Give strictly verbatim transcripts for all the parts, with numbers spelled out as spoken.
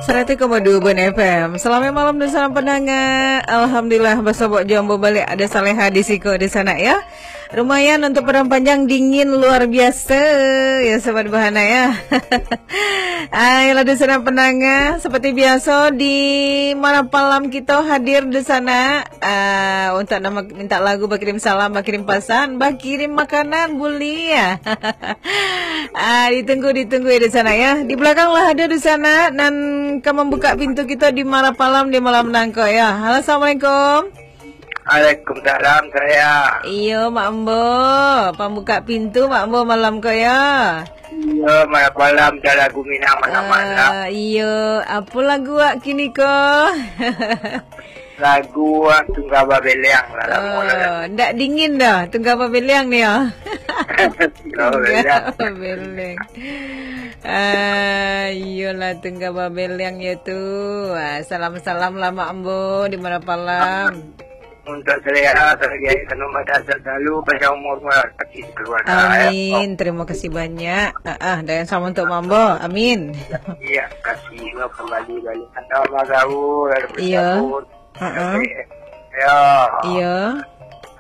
Saratuih koma duo Bun F M. Salamaik malam dunsanak pandanga. Alhamdulillah, basobok jo ambo baliak, ado Saleha di siko dunsanak, yo. Lumayan, untuk padang panjang dingin luar biasa, yo, Sobat Bahana, yo. Ah, yolah dunsanak pandanga, seperti biaso di malam palam kito hadir dunsanak, ah, untuk nan mintak lagu, bakirim salam, bakirim pasan, bakirim makanan, buliah. Ah, ditunggu, ditunggu yo dunsanak, yo. Di balakang lah ado dunsanak nan ka mambukak pintu kito di malam palam, di malam nangko, yo. Halo, assalamualaikum. Waalaikumsalam, saya. Iyo, Mak Ambo. Pambukak pintu Mak Ambo malam ko, yo. Iyo, malam palam, dah lagu Minang malam-malam. Ah, iyo, apo lagu wak kini ko? Lagu wak Tungga Babeleang lah, lamo lah. Oh, ndak dingin doh, Tungga Babeleang ni, yo. Tungga Babeleang. Tungga Babeleang. Ah, iyolah, Tungga Babeleang yo tu. Ah, salam-salam lah, Mak Ambo, di malam palam. Untuk selera, selagi tanam badan selalu, panjang umur, murah rezeki keluarga, yo. Amin. Terima kasih banyak. Ah, ah, dan yang sama untuk Mak Ambo. Amin. Iyo, kasih lo kembali balik. Anda Mak Gaul, ada Iyo. Bersabun. Ha-ha. Yo. Iyo.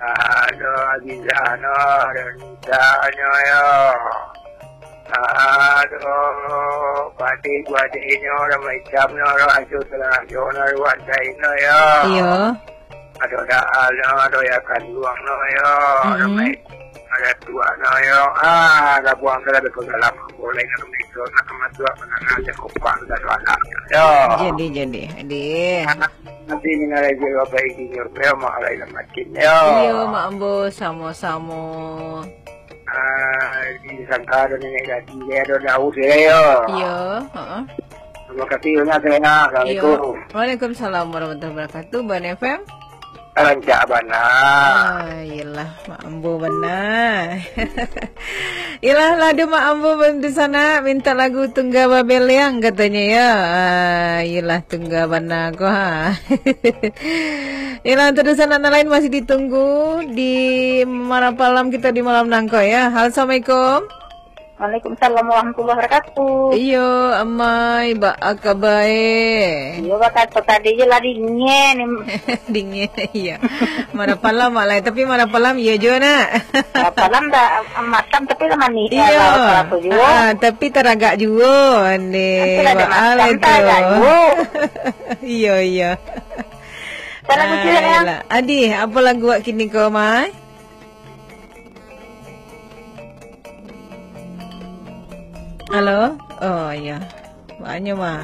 Ado Aziza no, ado Nisa nyo, yo. Ado Fatih, Fatih nyo, ado Maicam nyo, ado Ajo Selajo no, ado Wan Said no, yo. Iyo. Ado Daal no, ado Yakan Luang no, yo. Ado Mm-mm. Mai-, ado Tuak no, yo. Ah, gabuang tu lah, beko dalam. Boleh nak mengikut, nak kematuak, menengah, cakupang, dan anak. Yo. Jadi, jadi, jadi. Nanti ni nak lagi apa ini, yo. Yo, mahal lah makin, yo. Iyo, Mak Ambo, samo-samo. Ah, di sangka ado nenek gadih, ado Daud, yo. Iyo, heeh. Terima kasih banyak, Zainal. Iyo. Assalamualaikum. Waalaikumsalam warahmatullahi wabarakatuh. Bun F M. Rancak bana. Ah, iyolah, Mak Ambo bana. Iyolah, lah ado Mak Ambo bantu sanak, minta lagu Tungga Babeleang katonyo, yo. Ah, iyolah, Tungga bana ko, ha. Iyolah, untuk dunsanak nan lain masih ditunggu di malam palam kito di malam nangko, yo. Halo, assalamualaikum. Waalaikumsalam warahmatullahi wabarakatuh. Iyo, amai, baa kaba e? Iyo, bakato tadi je lah dingin. Dingin, iyo. Malam palam, Mak, lai. Tapi malam palam, iyo juo, nak. Malam palam dah matam, tapi lah manih. Iyo. Lah, apa-apa juo. Ah, tapi taragak juo, ande. Nanti lah dah matam, taragak juo. Iyo, iyo. Salam kecil, ya. Ayolah. Adi, apa lagu wak kini ko, Mai? Halo? Oh, iyo. Banyak, Mai.